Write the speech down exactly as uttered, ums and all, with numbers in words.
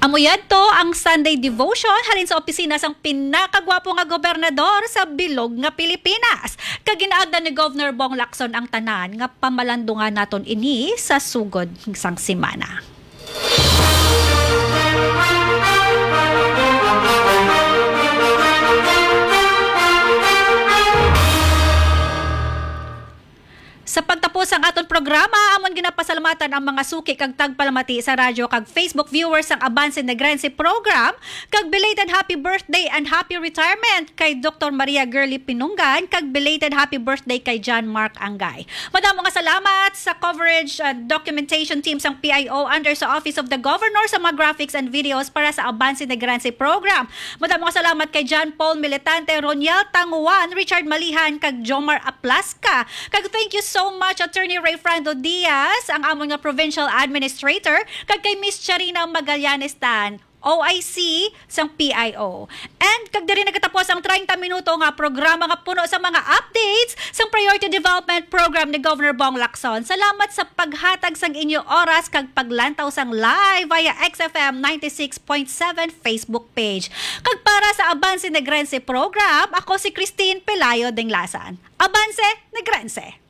Amo yadto ang Sunday devotion halin sa opisina sang pinakagwapo nga gobernador sa bilog nga Pilipinas. Kag ginaagda ni Governor Bong Lacson ang tanan nga pamalandungan naton ini sa sugod sang semana. Sa pagtapos sang aton programa, amon ginapasalamatan ang mga suki kag tagpalamati sa radyo kag Facebook viewers sang Avance Negrense program, kag belated happy birthday and happy retirement kay Doktor Maria Girly Pinungan, kag belated happy birthday kay John Mark Angay. Madamo nga salamat sa coverage and documentation team sang P I O under sa Office of the Governor sa mga graphics and videos para sa Avance Negrense program. Madamo nga salamat kay John Paul Militante, Roniel Tanguan, Richard Malihan, kag Jomar Aplasca. Kag thank you so much, Attorney Rayfrando Diaz, ang amon nga provincial administrator, kag kay Miss Charina Magallanes Tan, O I C sang P I O. And kag diri nagatapos ang treinta minuto nga programa nga puno sa mga updates sang Priority Development Program ni Governor Bong Lacson. Salamat sa paghatag sang inyo oras kag paglantaw sang live via X F M ninety-six point seven Facebook page. Kag para sa Avance Negrense program, ako si Christine Pelayo Dinglasan. Avance Negrense!